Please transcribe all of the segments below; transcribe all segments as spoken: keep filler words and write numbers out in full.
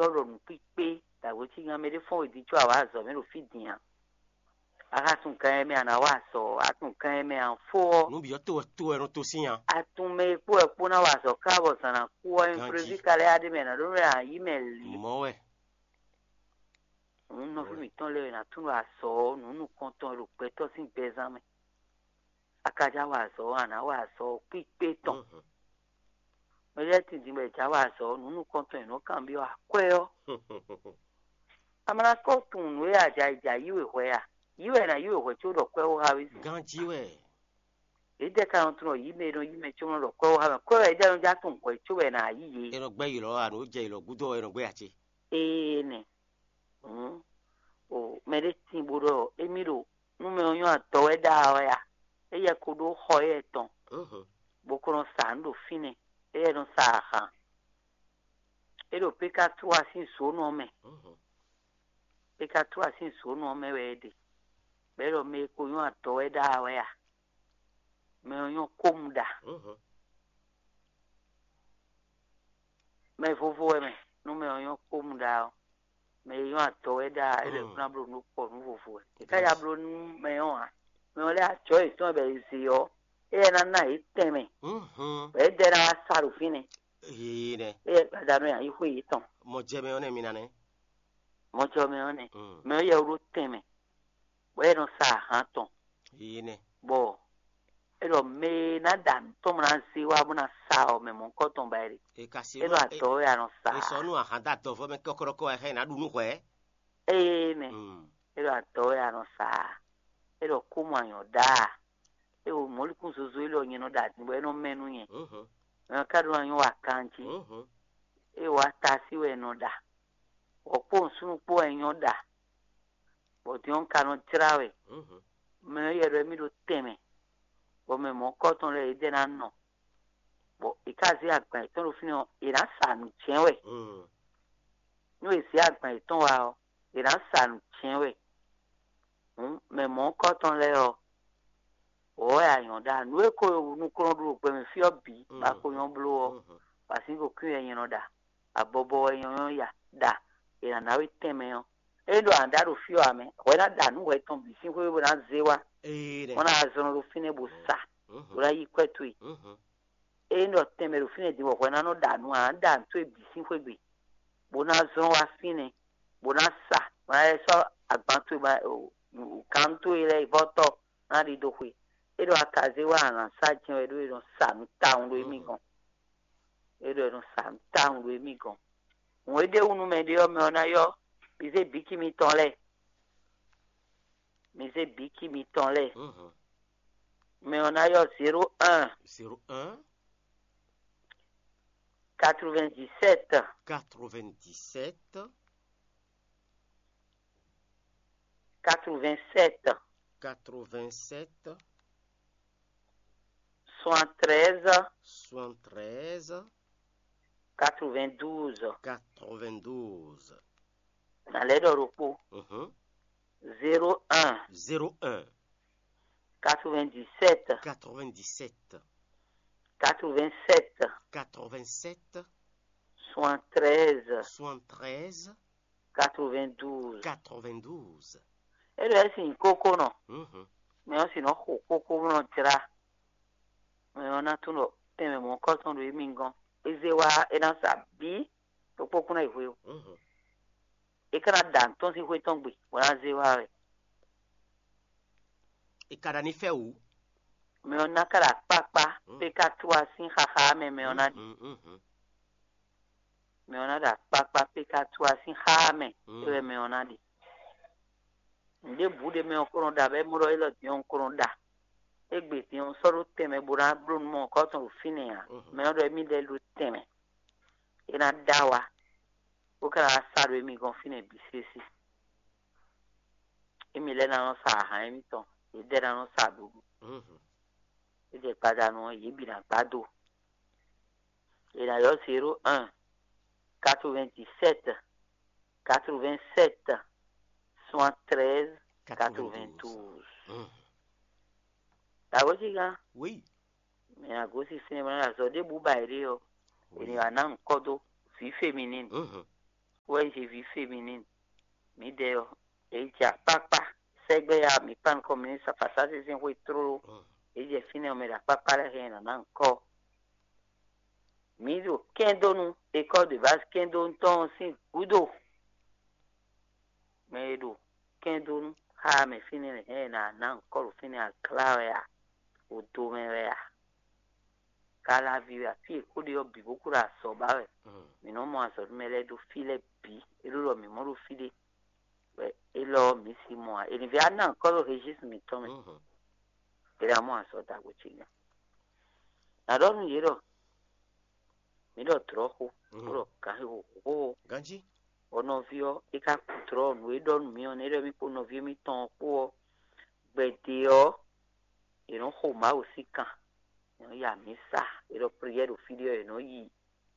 sɔ́ ɖɔ nǔkpíkpé ɖo awǒcígan mɛ ɖé fɔ́n wědín có a wǎ azɔ̌ mɛ ɖo fí din ǎ. A ka tunwun kan e mɛ a nǎ wa azɔ̌ ɔ́, a tunwun kan e mɛ a nǎ fó ɔ́, Nǔ bǐ ɔ́ to wɛ to wɛ nɔ to sín a. A tunwun mɛ e kpó wɛ kpó ná wa azɔ̌ ká bɔ zǎn ná kú ɔ́, Ganjí. Imprévu ka lɛ́ yá ɖ'é mɛ, nǎ ɖó nú wɛ a yǐ mɛ lě. Mɔ̌ wɛ. Nǔ nɔví mǐtɔn lɛ́ɛ wɛ nǎ tunwun ɖɔ azɔ̌ ɔ́, nǔ nukɔntɔn e ɖo gbɛtɔ́ sín gbɛzán mɛ. A ka já wa azɔ̌ ɔ́, a nǎ wa azɔ̌ ɔ́ kpíkpé tɔn. Mhm. Mɛ lɛ́ɛ tindin bɔ è já wa azɔ̌ ɔ́, nǔ nukɔntɔn e nɔ́ kanbyɔ́ akwɛ́ ɔ́, a ma ná kɔ́ tunwun nǔ e a ja yi ja yí we hwɛ a? Yí wɛ è nǎ yí we hwɛ có ɖɔ kwɛ́ ó há we zǐn. Ganjí wɛ. Yědɛɛ ka nɔ tunwun ɖɔ yí mɛ e nɔ yí mɛ có nɔ ɖɔ kwɛ́ ó há mɛ. Kwɛ́ wɛ yědɛɛ nɔ já tunwun hwɛ có wɛ è nǎ yí yě. È nɔ gbɛ́ yi lɔ ǎ, nǔ jɛ yi lɔ gúdo ɔ́, è nɔ gbɛ́ ǎ ce. Énɛ́. Hǔn, mɛ ɖé tín bó ɖɔ émí ɖo nú mɛ ɔ́ nyɔ́ adɔ wɛ ɖa wɛ a? Éyɛ́ ko ɖó xɔ éyɛ́ tɔn, Mhm. bó ko nɔ sa nǔ ɖo fínɛ́, éyɛ́ nɔ sa ahan. É ɖo Pekatua sín zǒnɔ mɛ. Mhm. Pekatua sín zǒnɔ mɛ wɛ é ɖe. Bɔ é ɖɔ mɛ e ko nyɔ́ adɔ wɛ ɖa wɛ a? Mɛ ɔ́ nyɔ́ kómu ɖa. Mhm. Mɛ vovo wɛ mɛ, nú mɛ ɔ́ nyɔ́ kpó mu ɖa ɔ́, mɛ e nyɔ́ adɔ wɛ ɖa, é lɛ́ Mm. kún ná bló nǔ kpɔ nǔ vovo wɛ. É ká ya bló nú mɛ ɔ́ ǎ. Mɛ ɔ́ lɛ́ ajɔ yětɔn bɔ è ze ɔ́, éyɛ́ ná ná yě tɛnmɛ, Mhm. bɔ é dɛ ná wá sa ɖo fínɛ́. Ee nɛ. Éyɛ́ gbadanu yě yi xwé yětɔn. Mɔ jɛ mɛ ɔ́ nɛ mi ná nɛ́. Mɔjɔ mɛ ɔ́ nɛ. Mm. Mɛ ɔ́ yɛ wó ɖó tɛnmɛ, bɔ é nɔ sa ahan tɔn. Ee nɛ. Bɔ é ɖɔ mɛ e ná ɖa nǔ tɔn bó ná zé wá bó ná sa ɔ́, mɛ mɔ̌hunkɔ tɔn ba é ɖe. E ka se É ɖo adɔ wɛ a nɔ sa. E sɔ nú ahan dó adɔvɔ mɛ kɔkɔɖɔkɔ wɛ xá e ná ɖu nú hwɛ. Eye nɛ. Mm. É ɖo adɔ wɛ a nɔ sa. É ɖɔ kú mɔ anyɔ ɖa. É wo mɔ̌likún zozo élɔ́ nyɛ nɔ ɖa din bɔ é nɔ mɛ nú nyɛ. Mhm. Mɛ ɔ́ ka ɖó anyɔ wa kanjí. Mhm. É wa tasí wɛ è nɔ ɖa. Wɔ kpó nsúnú kpó wɛ nyɔ ɖa. Bɔ din ɔ́ un ka nɔ jlá wɛ. Mhm. Mɛ ɔ́ yɛ ɖɔ émí ɖo tɛnmɛ. Bɔ mɛ mɔ̌kɔtɔn lɛ́ɛ yě dɛ ná nɔ. Bɔ è ka zé agban yětɔn ɖo fínɛ́ ɔ́, è nǎ sa nǔ jɛ́n wɛ. Mm. Nú è zě agban yětɔn wá ɔ́, è nǎ sa nǔ jɛ́n wɛ. Hǔn mɛ mɔ̌kɔtɔn lɛ́ɛ ɔ́, wǒ wɛ a nyɔ̌ ɖa. Nǔ e ko nukɔn ɖu ɖo gbɛmɛ fí ɔ́ bǐ, Mm. bɔ a ko nyɔ́ bló ɔ́, Mhm. bɔ asín ko kwín wɛ nyɛ nɔ ɖa. Abɔbɔ wɛ nyɛ nyɔ́ ya ɖa. È nǎ ná we tɛnmɛ ɔ́. Ényí ɖɔ a nǎ ɖa ɖo fí ɔ́ ǎ mɛ, hwɛ ná ɖa nǔ hwɛ tɔn bǐ sín xwé bó ná zé wá. Ee nɛ. Bó ná zɔn ɖo fínɛ́ bó sa, Mhm. bó ná yí kwɛ́ towe. Mhm. Ényí ɖɔ tɛnmɛ ɖo fínɛ́ din bɔ hwɛ ná nɔ ɖa nǔ ǎ, a nǎ ɖa nǔ towe bǐ sín xwé gbe, bó ná zɔn wá fínɛ́, bó ná sa, bó ná lɛ́ sɔ́ agban towe ba kan towe lɛ́ɛ yi vɔ́ tɔ́ ná ɖidó xwe. É ɖɔ a ka zé wá a nǎ sa jɛ́n wɛ ɖó è nɔ sa nǔ tawun ɖó émí gɔ́n. É ɖɔ è nɔ sa nǔ tawun ɖó émí gɔ́n. Hǔn é ɖe wú nú mɛ ɖé ɔ́, mɛ ɔ́ ná ylɔ́ mi zé bǐki mitɔn lɛ́ɛ. Mi zé bǐki mitɔn lɛ́ɛ. Mhm. Mɛ ɔ́ ná ylɔ́ zéro un, Zéro un, quatre-vingt-dix-sept, quatre-vingt-dix-sept, quatre-vingt-sept, quatre-vingt-sept, soixante-treize, soixante-treize, quatre-vingt-douze. Quatre-vingt-douze. Nǎ lɛ́ ɖɔ ɖokpó. Mhm. Zéro un, Zéro un, quatre-vingt-dix-sept, quatre-vingt-dix-sept, quatre-vingt-sept, quatre-vingt-sept, soixante-treize, soixante-treize, quatre-vingt-douze. Quatre-vingt-douze. É ɖɔ é sin kókó nɔ. Mhm. Mɛ ɔ́ sin nɔ xo kókó nɔ jlá. Mɛ ɔ́ ná tunwun ɖɔ tɛnmɛ mɔ̌kɔtɔn ɖo émí gɔ́n. É zé wá é ná sa bǐ ɖokpó kún ná yi hwe ó. Mhm. É ka ná ɖa nǔ tɔn sín xwé tɔn gbe, bó ná zé wá wɛ. È ka ɖa ní fɛ wǔ. Mɛ ɔ́ ná ka ɖo akpákpá, Mm. pé ká tú wá sín xaxa mɛ, mɛ ɔ́ ná ɖi. Mm, mm, mm. Mɛ ɔ́ ná ɖo akpákpá, pé ká tú wá sín xá mɛ, Mm. é wɛ mɛ ɔ́ ná ɖi. Nǔɖé bǔ ɖé mɛ ɔ́ ko nɔ ɖa, bɔ é mɔ ɖɔ élɔ́ din ɔ́ un ko nɔ ɖa. Égbé din ɔ́ un sɔ́ ɖó tɛnmɛ bó ná bló nú mɔ kɔ́ tɔn ɖo fínɛ́ ǎ. Mhm. Mɛ ɔ́ ɖɔ émí lɛ́ ɖó tɛnmɛ. É ná ɖa wá, bó ka ná wá sa ɖo émí gɔ́n fínɛ́ bǐ sésé. Émí lɛ́ɛ ná nɔ sa ahan émítɔn, yědɛɛ ná nɔ sa ɖuɖu. Mhm. É jɛ gbadanu ɔ́, yě bǐ ná gbá do. È nǎ ylɔ́ zéro un, quatre-vingt-dix-sept, quatre-vingt-sept, soixante-treize, quatre-vingt-douze. Mhm. Dǎwe cí gán, Oui. Mɛ agosín sinimá azɔ̌ ɖěbǔ ba è ɖe ɔ́, è nǐ wá ná nǔ kɔ dó vǐ féminine. Mhm. Jésus féminin. Mǐdɛɛ ɔ́, è jɛ akpákpá sɛgbɛ ya mǐ kpan nukɔn mǐ ní sa fasa sésé xwé tlóló. È jɛ fínɛ́ ɔ́ mɛ ɖo akpákpá lɛ́ɛ hɛn nǎ ná ŋkɔ. Mǐ ɖo kɛ́ndónú, école de base kɛ́ndónú tɔn ɔ́ sín gǔdo. Mɛ e ɖo kɛ́ndónú xá mɛ fínɛ́ lɛ́ɛ hɛn nǎ ná ŋkɔ ɖo fínɛ́ aglá wɛ a? Odo mɛ wɛ a? Kalaví wɛ a? Fí e kó ɖe ɔ́ bǐ bó kó ɖo azɔ̌ ba wɛ. Mǐ nɔ́ mɔ azɔ̌ nú mɛ lɛ́ɛ ɖo fí lɛ́ɛ bǐ. É ɖó ɖɔ mǐ mɔ ɖo fí ɖé. Wɛ élɔ́ ɔ́, mǐ si mɔ ǎ. È nǐ vɛ́ ná ŋkɔ́ ɖo Regísinu mǐtɔn mɛ. È ná mɔ azɔ̌ ɖagbe ce nya. Nǎ ɖɔ nú yě ɖɔ mǐ ɖɔ dlɔ̌xo, bó ɖɔ gǎn xixo xóxó. Ganjí. Bɔ nɔví ɔ́, é ka kú dlɔ́ nǔ e ɖɔ nú mì ɔ́, nɛ́ ɖɔ mì kpó nɔví émítɔn ɔ́ kpó ɔ́, gbɛ̌dě ɔ́, è nɔ́ xo Mawu sín kan, è nɔ́ yi amǐsa, è nɔ prière ɖo fí ɖé ɔ́, è nɔ́ yi,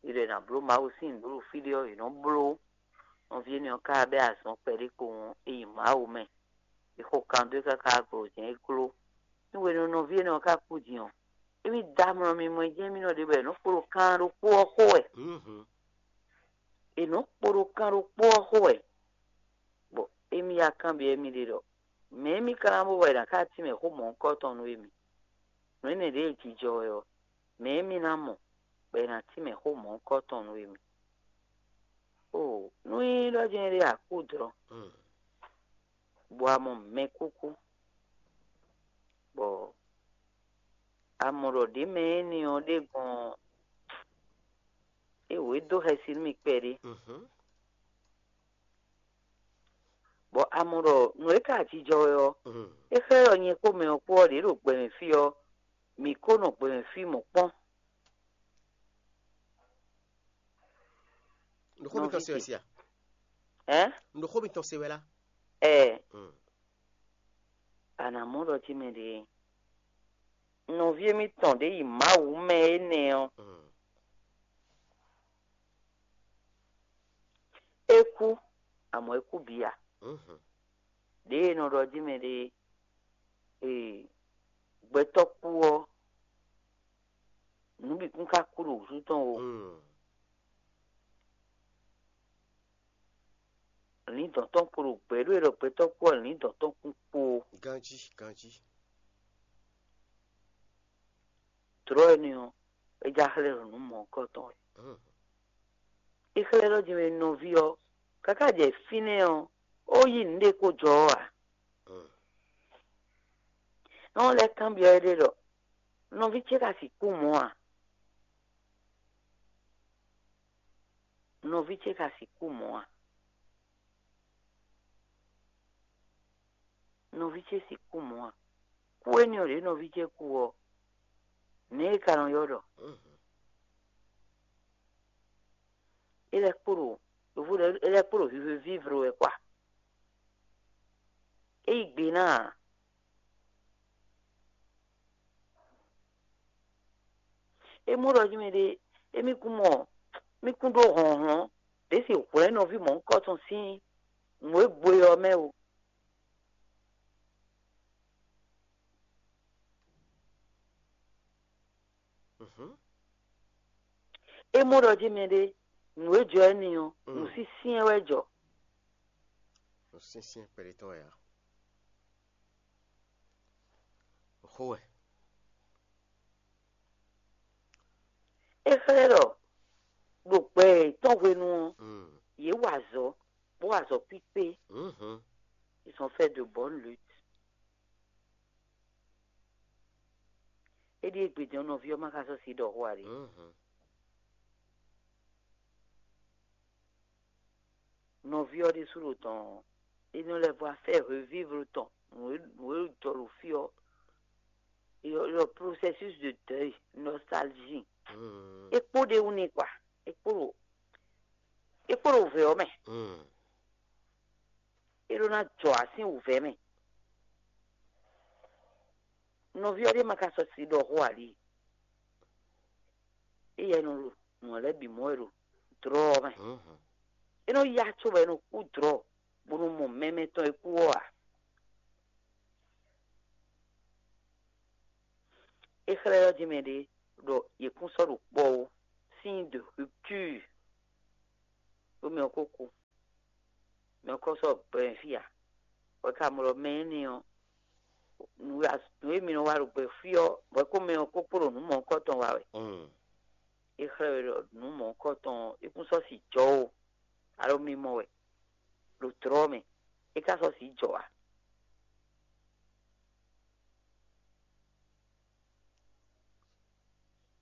è ɖɔ è nǎ bló Mawu sín nǔɖuɖu fí ɖé ɔ́, è nɔ́ bló. Nɔví énɛ́ ɔ́ ka bɛ́ azɔn kpɛɖé kpowun é yi Mawu mɛ. È xo kan dó é káká glo jɛ́n é gló. Nú hwenu nɔví énɛ́ ɔ́ ka kú din ɔ́, émí dó amlɔ mimɔ e jɛ́n émí nɔ ɖe bɔ è nɔ́ kpo ɖo kan ɖokpó ɔ́ xo wɛ. È nɔ́ kpo ɖo kan ɖokpó ɔ́ xo wɛ. Bɔ émí ya kanbyɔ́ émí ɖe ɖɔ: Mɛ̌ émí ka ná bó bɔ è nǎ ká tínmɛ xó mɔ̌hunkɔtɔn nú émí? Nǔ énɛ́ ɖě e jijɔ wɛ ɔ́, mɛ̌ émí ná mɔ bɔ è nǎ tínmɛ xó mɔ̌hunkɔtɔn nú émí? Oo, nú nyí ɖɔ jɛ́n ɖé a kú dlɔ́, bɔ a mɔ mɛkúkú, bɔ a mɔ ɖɔ ɖě mɛ énɛ́ ɔ́ ɖé gbɔn ɔ́, é wǒ é dó xɛsi nú mì kpɛɖé. Bɔ a mɔ ɖɔ nǔ e ka jijɔ wɛ ɔ́, é xlɛ́ ɖɔ nyɛ kpó mɛ ɔ́ kpó ɔ́, ɖě ɖo gbɛ mɛ fí ɔ́, mǐ kó nɔ gbɛ mɛ fí mɔ̌ kpɔ́n. Nǔxó mitɔn se wɛ sia? Ɛn? Nǔxó mitɔn se wɛ lá? Ɛɛ. A nǎ mɔ ɖɔ jí mɛ ɖě nɔví émítɔn ɖě yi Mawu mɛ énɛ́ ɔ́, é kú, amɔ̌ é kú bǐ ǎ. Ɖěe è nɔ ɖɔ jí mɛ ɖě e gbɛtɔ́ kú ɔ́, nǔ bǐ kún ka kú ɖo wǔtu tɔn o. Lǐndɔ̌n tɔn kpo ɖo gbɛ̌ ɖó e ɖɔ gbɛtɔ́ kú ɔ́, lǐndɔ̌n tɔn kún kpo. Ganjí, ganjí. Dlɔ̌ énɛ́ ɔ́, é já xlɛ́ ɖɔ nǔ mɔ̌hunkɔtɔn wɛ. É xlɛ́ ɖɔ jɛ́n nɔví ɔ́, káká jɛ fínɛ́ ɔ́, ó yí nǔɖé kó jɔ ɔ́ ǎ. Nɔ lɛ́ kanbyɔ́ éɖée ɖɔ: Nɔví ce ka sixú mɔ a? Nɔví ce ka sixú mɔ a? Nɔví ce sixú mɔ a? Kú énɛ́ ɔ́ ɖě nɔví ce kú ɔ́, nɛ̌ è ka nɔ ylɔ́ ɖɔ? É lɛ́ kpo ɖo, yǒvo ɖɔ é lɛ́ kpo ɖo vivo vívlo wɛ kwa. É yí gbe ná ǎ. É mɔ ɖɔ jí mɛ ɖé, émí kún mɔ, mí kún ɖó hlɔ̌nhlɔ́n ɖě si hwlɛ̌n nɔví mɔ̌hunkɔtɔn sín nǔ e gbo é ɔ́ mɛ o. É mɔ ɖɔ jí mɛ ɖé, nǔ e jɔ énɛ́ ɔ́, nǔ sínsɛ́n wɛ jɔ. Nǔ sínsɛ́n kpɛɖé tɔn wɛ ǎ. Xó wɛ. É xlɛ́ ɖɔ ɖo gbɛ yětɔn hwenu ɔ́, yě wa azɔ̌, bó wa azɔ̌ kpíkpé. Ils ont fait de bonnes luttes. É ɖíe gbedɛn nɔví ɔ́ ma ka sɔ́ si ɖɔ xó ǎ ɖé. Nɔví ɔ́ ɖésú ɖo tɔn, é nɔ lɛ́ vɔ affaire revivre tɔn, nǔ e nǔ e jɔ ɖo fí ɔ́, le processus de deuil, nostalgie. É kpo ɖ'é wú n'i kwa, é kpo ɖo é kpo ɖo wǔvɛ́ ɔ́ mɛ. É ɖó ná jɔ asín wǔvɛ́ mɛ. Nɔví ɔ́ ɖé ma ka sɔ́ si ɖɔ xó ǎ ɖi. Éyɛ́ nɔ ɖo nǔ lɛ́ɛ bǐ mɔ wɛ ɖo dlɔ́ ɔ́ mɛ. É nɔ yá có bɔ é nɔ kú dlɔ́, bó nɔ mɔ mɛ mɛtɔn e kú ɔ́ ǎ. É xlɛ́ ɔ́ jí mɛ ɖé ɖɔ yě kún sɔ́ ɖo kpɔ́ ó, signe de rupture. Ɖó mɛ ɔ́ kó kú. mɛ ɔ́ kɔ sɔ́ gbɛ mɛ fí ǎ. Bɔ é ka mɔ ɖɔ mɛ énɛ́ ɔ́, nǔ e mi nɔ wa ɖo gbɛ fí ɔ́, bɔ é kó mɛ ɔ́ kó kpo ɖo nǔ mɔ̌hunkɔtɔn wa wɛ. É xlɛ́ we ɖɔ nǔ mɔ̌hunkɔtɔn ɔ́, é kún sɔ́ si jɔ ó, alo mi mɔ wɛ ɖo dlɔ̌ mɛ, é ka sɔ́ si jɔ ǎ.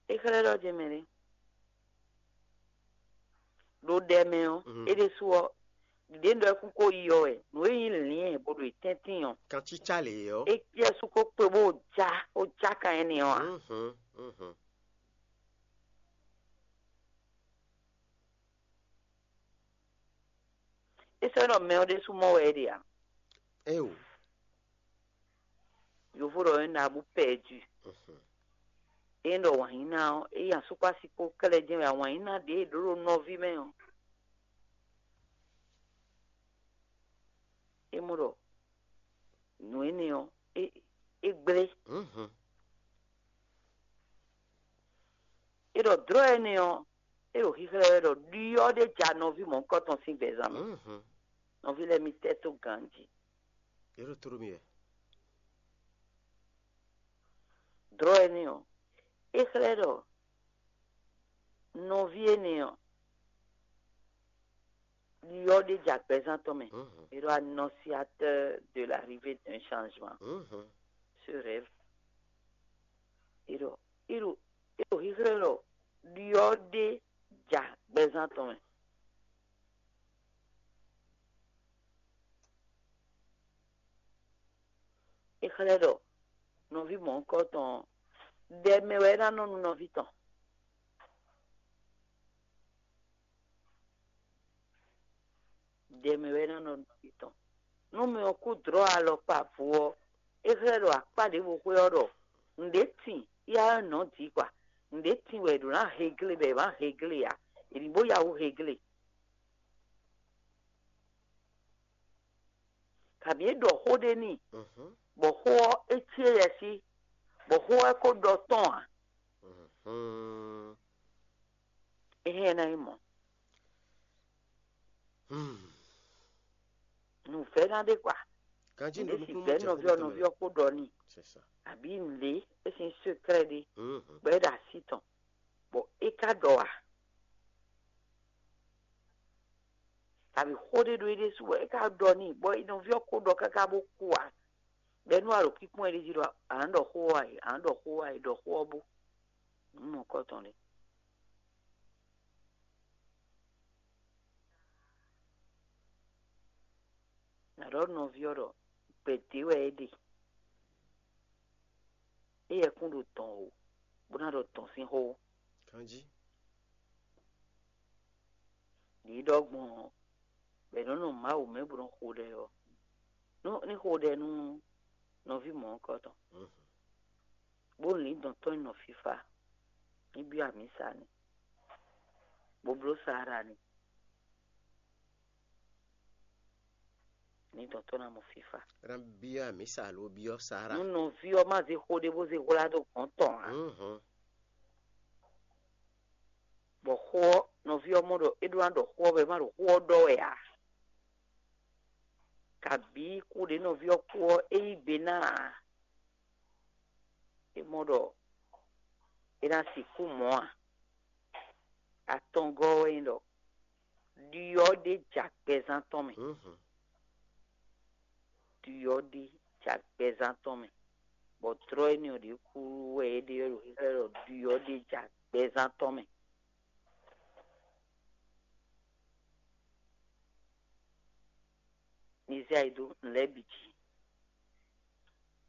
É xlɛ́ ɖɔ jɛmɛ ɖé. Ɖo ɖɛ mɛ ɔ́, é ɖésú ɔ́, ɖěɖéŋ ɖɔ é kún ko yi ɔ́ wɛ, nǔ e nyí lǐn ɛ bo ɖo tɛ́ntin ɔ́, kancícá lě ɔ́. É cí ɛ́ sú ko kpe bó já, bó já kan énɛ́ ɔ́ ǎ. É sɔ́ nɔ mɛ ɔ́ ɖésú mɔ wɛ é ɖe ǎ. Éo. Yovo ɖɔ é ná bú pɛdu. É ɖɔ wǎnyíná ɔ́, é yi asúkpási kpó kɛ́lɛ jɛ́n wɛ wǎnyíná ɖě e ɖǒ ɖo nɔví mɛ ɔ́. É mɔ ɖɔ nǔ énɛ́ ɔ́, é é gblé. É ɖɔ dlɔ̌ énɛ́ ɔ́, é ɖo xíxlɛ́ wɛ ɖɔ ɖyɔ́ ɖé ja nɔví mɔ̌hunkɔtɔn sín gbɛzán mɛ. Nɔví lɛ́ɛ mi tɛ́ tó ganjí. É ɖo tló mì wɛ. Dlɔ̌ énɛ́ ɔ́, é xlɛ́ ɖɔ nɔví énɛ́ ɔ́, ɖyɔ́ ɖé ja gbɛzán tɔn mɛ. É ɖɔ annonciateur de l'arrivée d'un changement. Ce rêve. É ɖɔ é ɖo é ɖo xíxlɛ́ ɖɔ ɖyɔ́ ɖé ja gbɛzán tɔn mɛ. É xlɛ́ ɖɔ nɔví mɔ̌hunkɔtɔn ɔ́, ɖɛ mɛ wɛ é ná nɔ nú nɔví tɔn. Ɖɛ mɛ wɛ é ná nɔ nɔví tɔn. Nú mɛ ɔ́ kú dlɔ̌ alɔkpa vo ɔ́, é xlɛ́ ɖɔ akpá ɖěvo xwé ɔ́ ɖɔ nǔɖé tin yá ɔ́ nɔ dǐ kpa. Nǔɖé tin wɛ è ɖǒ ná heglé bɔ è má heglé ǎ. È ní bó yá wú heglé. Kabǐ é ɖɔ xó ɖé n'i, bɔ xó ɔ́ é cí éyɛ́ sí, bɔ xó ɔ́ é ko ɖɔ tɔ́n ǎ. Éhɛn ná nyí mɔ̌. Nǔvɛ́ná ɖé kpa. Kanjí nǔ ɖé si vɛ̌ nɔví ɔ́, nɔví ɔ́ kó ɖɔ n'i. Abǐ nǔɖé é sín sekrɛ́ ɖé, bɔ é ɖo así tɔn, bɔ é ka ɖɔ ǎ. Kabǐ xó ɖé ɖo é ɖésú wɛ é ka ɖɔ n'i, bɔ nɔví ɔ́ ko ɖɔ káká bó kú ǎ. Bɔ é nú a ɖo kpíkpɔ́n ɛ ɖ'é jí ɖɔ a nǎ ɖɔ xó ɔ́ a è, a nǎ ɖɔ xó ɔ́ a è, ɖɔ xó ɔ́ bó. Nǔ mɔ̌kɔtɔn ɖé. Nǎ ɖɔ nɔví ɔ́ ɖɔ gbɛ̌ dě wɛ é ɖe. Éyɛ́ kún ɖo dɔn o, bó ná ɖɔ dɔn sín xó. Kanjí. Ɖǐ ɖɔ gbɔn ɔ́, bɔ è nɔ́ nɔ Mawu mɛ bó nɔ́ xo ɖɛ ɔ́, nú ní xo ɖɛ nú nɔví mɔ̌hunkɔtɔn, bó lǐn dɔn tɔn nyi nɔ fífá, ní byɔ́ amǐsa ni, bó bló Saara ni, ní dɔn tɔn ná mɔ fífá. É ná byɔ́ amǐsa alo byɔ́ Saara. Nú nɔví ɔ́ má zé xó ɖé bó zé hwlá dó gɔ̌n tɔn ǎ. Bɔ xó ɔ́, nɔví ɔ́ mɔ ɖɔ é ɖó ná ɖɔ xó ɔ́ bɔ é má ɖo xó ɔ́ ɖɔ wɛ ǎ. Kabǐ kú ɖě nɔví ɔ́ kú ɔ́, é yí gbe ná ǎ. É mɔ ɖɔ é ná sixú mɔ ǎ. Atɔngɔ́ ɔ́ wɛ nyí ɖɔ ɖyɔ́ ɖé ja gbɛzán tɔn mɛ. Ɖyɔ́ ɖé ja gbɛzán tɔn mɛ, bɔ tlɔ́ énɛ́ ɔ́ ɖě kú wɛ é ɖe ɔ́ ɖo xíxlɛ́ ɖɔ ɖyɔ́ ɖé ja gbɛzán tɔn mɛ. Mi zé ayi dó nǔ lɛ́ɛ bǐ jí,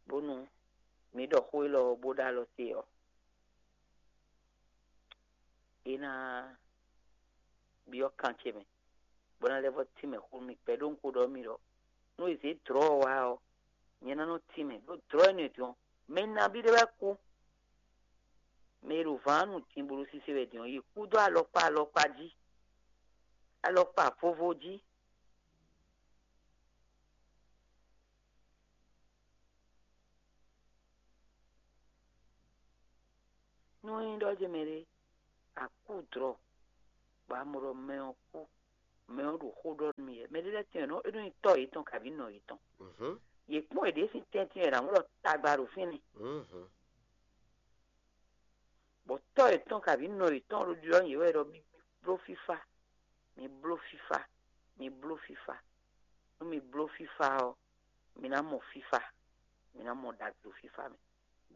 bónú mi ɖɔ xó élɔ́ ɔ́ bó ɖó alɔ te ɔ́, é ná byɔ́ kan ce mɛ, bó ná lɛ́ vɔ́ tínmɛ xó nú mi kpɛɖónúkpo ɖɔ mi ɖɔ nú è zě dlɔ̌ ɔ́ wá ɔ́, nyɛ ná nɔ tínmɛ, ɖó dlɔ̌ énɛ́ din ɔ́, mɛ nabí ɖé wɛ kú. Mɛ e ɖo vǎn nu din bo ɖo sise wɛ din ɔ́, yě kú dó alɔkpa alɔkpa jí, alɔkpa vovo jí. Nú é nyí ɖɔ jɛ́n mɛɖé a kú dlɔ̌, bɔ a mɔ ɖɔ mɛ ɔ́ kú, Mɛ ɔ́ ɖo xó ɖɔ nú mi wɛ. Mɛ ɖé lɛ́ɛ tɛ́n ɔ́, é nɔ nyí tɔ́ yětɔn kabǐ nɔ yětɔn. Yě kpɔ́n yě ɖésú tɛ́ntin wɛ ɖo amɔ̌ ɖɔ tagba ɖo fínɛ́. Bɔ tɔ́ yětɔn kabǐ nɔ yětɔn ɖo ɖiɖɔ nú yě wɛ ɖɔ mi bló fífá, mi bló fífá, mi bló fífá. Nú mi bló fífá ɔ́, mi ná mɔ fífá, mi ná mɔ ɖagbe ɖo fífá mɛ.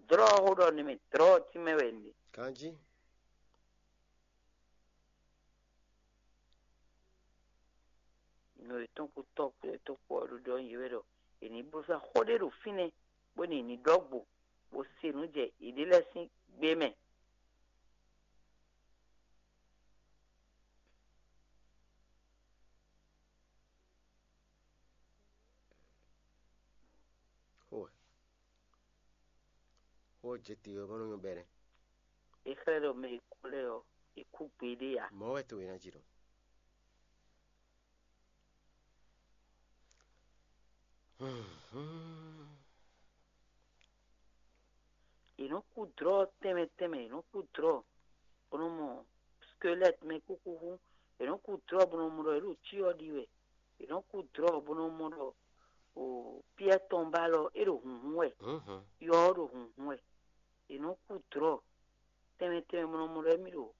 Dlɔ́ ɔ́ xó ɖɔ nú mi, dlɔ́ ɔ́ tínmɛ wɛ un ɖe. Ganjí. Nɔ yětɔn kpó tɔ́ kpó yětɔn kpó ɔ́ ɖo ɖɔ nú yě wɛ ɖɔ è nǐ bló fífá xó ɖé ɖo fínɛ́, bó ní ní ɖɔ́ gbo, bó se nǔ jɛ yěɖée lɛ́ɛ sín gbé mɛ. Xó ɔ́ jɛ te ɔ́, bó nɔ́ nyɔ́ bɛ́ nɛ́. È xlɛ́ ɖɔ mɛ e kú lɛ́ɛ ɔ́, è kú gbeɖé ǎ. Mɔ̌ wɛ to e ná jí ɖɔ. È nɔ́ kú dlɔ́ tɛnmɛ tɛnmɛ, è nɔ́ kú dlɔ́, bó nɔ́ mɔ skelɛ́t mɛ kúkú hú, è nɔ́ kú dlɔ́ bó nɔ́ mɔ ɖɔ è ɖo cyɔ ɖi wɛ, è nɔ́ kú dlɔ́ bó nɔ́ mɔ ɖɔ o Piyɛ́ɛ tɔn ba lɔ é ɖo hǔnhún wɛ, yɔ ɔ́ ɖo hǔnhún wɛ, è nɔ́ kú dlɔ́ tɛnmɛ tɛnmɛ bó nɔ́ mɔ ɖɔ émí ɖo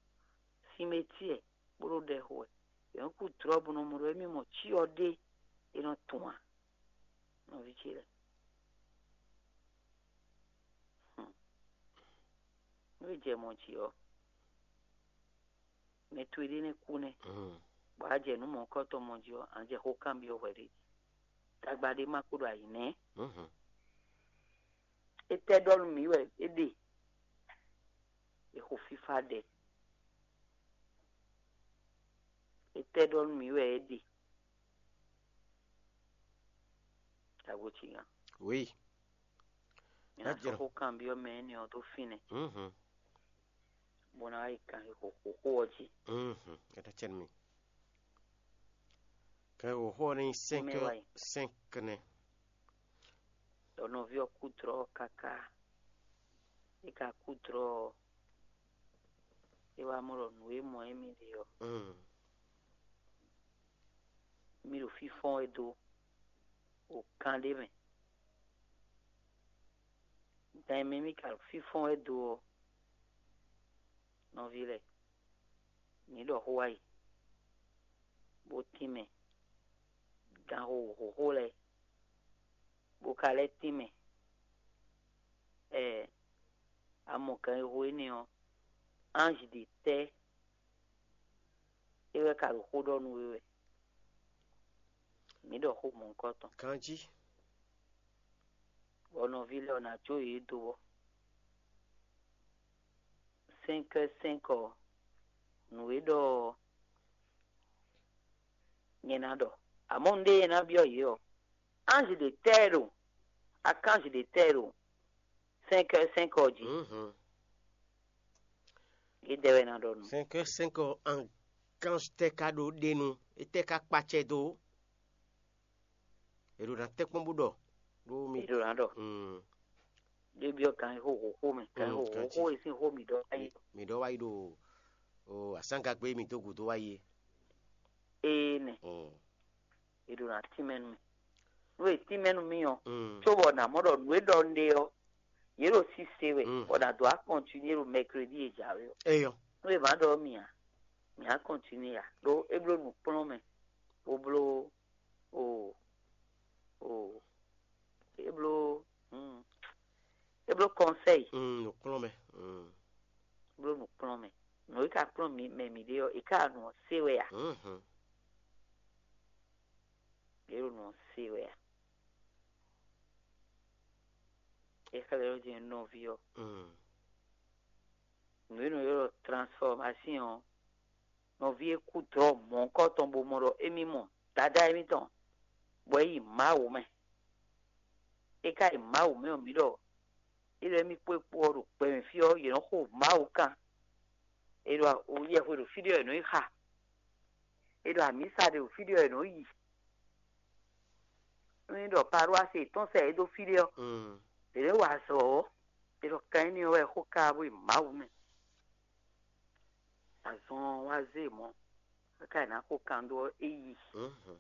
sinmɛtíɛ bó ɖo ɖɛ xo wɛ, è nɔ́ kú dlɔ́ bó nɔ́ mɔ ɖɔ émí mɔ cyɔ ɖé é nɔ tun ǎ. Nɔví ce lɛ́ɛ, nú è jɛ mɔ jǐ ɔ́, mɛ towe ɖé nɛ́ kú nɛ́, bɔ a jɛ nǔ mɔ̌hunkɔtɔn mɔ jí ɔ́, a nǎ jɛ xó kanbyɔ́ hwɛ ɖé jí. Tagba ɖé ma kpo ɖo ayǐ nɛ́. Étɛ́ ɖɔ nú mǐ wɛ é ɖe? È xo fífá ɖɛ. Étɛ́ ɖɔ nú mǐ wɛ é ɖe? Tago ci nya. Oui. Mǐ ná sɔ́ xó kanbyɔ́ mɛ énɛ́ ɔ́ dó fínɛ́, bó ná wá yi kan xixo xó ɔ́ jí. Kata cɛn mi. Kɛ wǒ xó ɔ́ ní nyí cinq heures cinq nɛ. Ɖɔ nɔví ɔ́ kú dlɔ́ káká. É ka kú dlɔ́ ɔ́, é wá mɔ ɖɔ nǔ e mɔ émí ɖe ɔ́, mí ɖo fínfɔ́n wɛ dó ɖo kan ɖé mɛ. Gan e mɛ mí ka ɖo fínfɔ́n wɛ dó ɔ́, nɔví lɛ́ɛ, mǐ ɖɔ xó wá yi, bó tínmɛ, gan xóxó lɛ́ɛ, bó ka lɛ́ tínmɛ. Ɛɛ, a mɔ ganxixo énɛ́ ɔ́, anji ɖě tɛ́ é wɛ ka ɖo xó ɖɔ nú we wɛ? Mǐ ɖɔ xó mɔ̌hunkɔtɔn. Ganjí. Bɔ nɔví lɛ́ɛ ɔ́ ná jó yě dó ɔ́, cinq heures cinq ɔ́, nǔ e ɖɔ ɔ́, nyɛ ná ɖɔ. Amɔ̌ nǔɖé e ná byɔ́ yě ɔ́, anji ɖě tɛ́ ɛ ɖo, akánji ɖě tɛ́ ɛ ɖo cinq heures cinq ɔ́ jí. Yědɛɛ wɛ ná ɖɔ nǔ. Cinq heures cinq ɔ́, ankanji tɛ́ ka ɖó ɖe nu? Étɛ́ ka kpacɛ dó? È ɖo ná tɛ́nkpɔ́n bó ɖɔ ɖó mi. È ɖo ná ɖɔ. Mm. Ɖé byɔ́ kan xó xóxó mɛ, kan Mm, xó kan xóxó jí. E sín xó mǐ ɖɔ wá yi. Mi ɖɔ wá yi ɖo o asángagbé mi dó gǔdo wá yi é. Ee nɛ, Mm. È ɖo ná tínmɛ nú mì. Nú è tínmɛ nú mì ɔ́, Mm. Có bɔ nǎ mɔ ɖɔ nǔ e ɖɔ un ɖe ɔ́, yě ɖo sise wɛ, Mm. Bɔ nǎ dó wá kɔntinué ɖo mɛkredi e jǎwe ɔ́. Eyɔ. Nú è má ɖɔ mì ǎ, mǐ á kɔntinué ǎ, ɖó é bló nǔkplɔ́nmɛ, bó bló o o é bló mm, é bló kɔnsɛ́yi, Mm, nǔkplɔ́nmɛ. Mm. Bló nǔkplɔ́nmɛ. Nǔ e ka kplɔ́n mǐ mɛ mǐ ɖe ɔ́, è ká nɔ se wɛ a? Mhm. Yě ɖo nɔ se wɛ a? É xlɛ́ ɖɔ jɛ́n nɔví ɔ́. Mm. Nǔ e nɔ ylɔ́ ɖɔ transformation ɔ́, nɔví e kú dlɔ̌ mɔ̌hunkɔtɔn bó mɔ ɖɔ émí mɔ Dadá émítɔn, bɔ é yi Mawu mɛ. É ka yi Mawu mɛ ɔ́, mǐ ɖɔ é ɖɔ émí kpó é kpó ɔ́ ɖo gbɛ mɛ fí ɔ́, yě nɔ xo Mawu kan. É ɖɔ yɛhwe ɖo fí ɖé ɔ́, è nɔ yi xa. É ɖɔ amǐsa ɖe ɖo fí ɖé ɔ́, è nɔ yi. Nú é ɖɔ paroisse yětɔn sɛ yě dó fí ɖé ɔ́, Mm. Yě nɔ wa azɔ̌ ɔ́, è ɖɔ kan énɛ́ ɔ́ wɛ xó ká bó yi Mawu mɛ. Azɔn ɔ́ wá zé mɔ̌. Káká ná xo kan ɖó é yi. Mhm.